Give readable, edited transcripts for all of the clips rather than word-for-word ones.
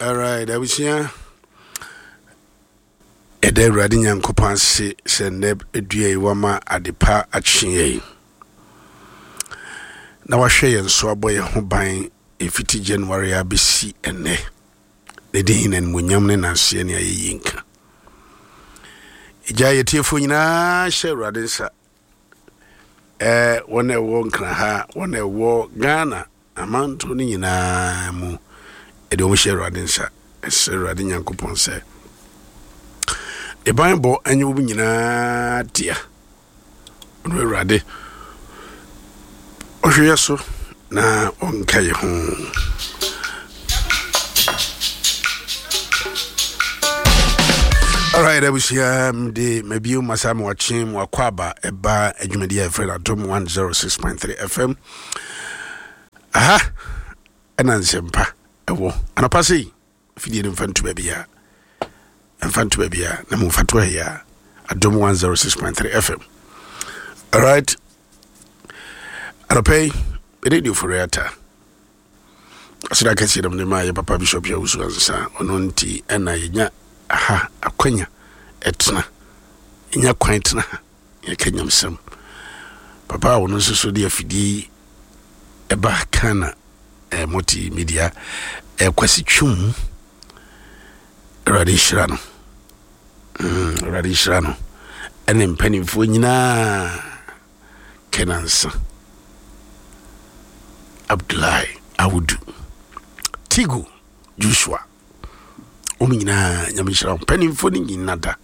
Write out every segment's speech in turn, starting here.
Alright, abusua. Ɛda Awurade Nyankopɔn ase sɛ nnɛ dua yi wama adepa akye yɛn. Na wahwɛ yɛn so abɔ yɛn ho ban ɛfiti January abɛsi ɛnnɛ. Ne din na animuonyam ne nanseɛ ne ayɛyie nka. Ɛgya yɛtiefoɔ nyinaa hyɛ Awurade nsa. Ɛɛ wɔn a ɛwɔ Nkraha, wɔn a ɛwɔ Ghana amanto no nyinaa mu, ɛde wɔn hyɛ Awurade nsa. Ɛsrɛ Awurade Nyankopɔn sɛ ne banbɔ nyɛ wɔn nyinaa dea. Ɔno Awurade ɔhwɛ yɛ so na ɔnka yɛ ho. Alright, abusua mede mabio masa mewakye mwakɔ aba ɛba adwumadi a ɛfrɛ no Adom 106.3 FM. Aha ɛna nsɛmpa ɛwɔ anɔpa sei fidie no mfa nto baabiaa mfa nto baabiaa na momfa to ha a Adom 106.3 FM. Alright, anɔpa yi mede de ofori ata Aseda kɛseɛ na mede maa yɛ papa Bishop Yawusu Ansa. Ɔno nti ɛna yɛnya aha akwanya ɛtena. Yɛnya kwan tena ha yɛka nyamsɛm. Papa a ɔno nso so de afidie yi ɛba Ghana eh, multimedia eh, Kwasi Twum. Awurade nhyira no. Awurade nhyira no. Ɛne mpanimfoɔ nyinaa. Kenansa, Abdullahi Awudu, Tigo Joshua, wɔn nyinaa nyame nhyira wɔn mpanimfoɔ no nyina da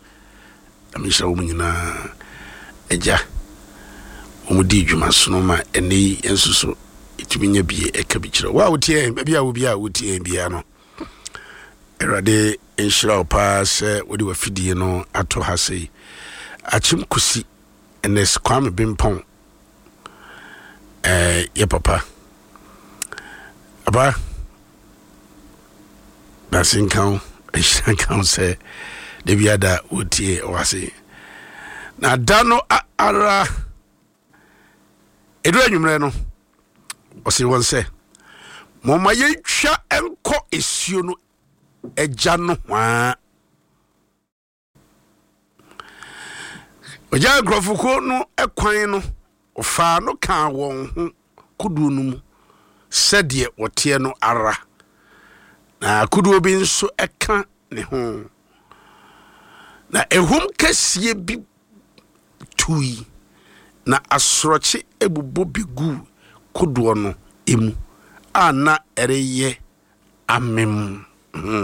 nyame nhyira wɔn nyinaa agya wɔn di dwuma sono ma ɛnɛ yi nso so ɛtumi nya bie ɛka bi kyerɛ wo a wotie yɛn baabi a wo bi a wotie yɛn biara no awurade nhyira wo paa sɛ wode wafidie no ato ha sei akyem kusi Ernest Kwame Bimpong eh, yɛ papa. Aba, dase nka wo, nhyira nka wo sɛ da bi ada wotie wase. Na da no ara, ɛduru anwummerɛ no, ɔse wɔn sɛ, momma yɛntwa nkɔ esuo no agya no hwaa. Ɔgyaa nkurɔfokuo no kwan no, ɔfaa no kaa wɔn ho kodoɔ no mu sɛdeɛ wɔteɛ no ara, na kodoɔ bi nso ka ne ho. Na ehum kɛseɛ bi tui, na asorɔkye bobɔ bɛguu kodoɔ no mu a na ɛreyɛ amem.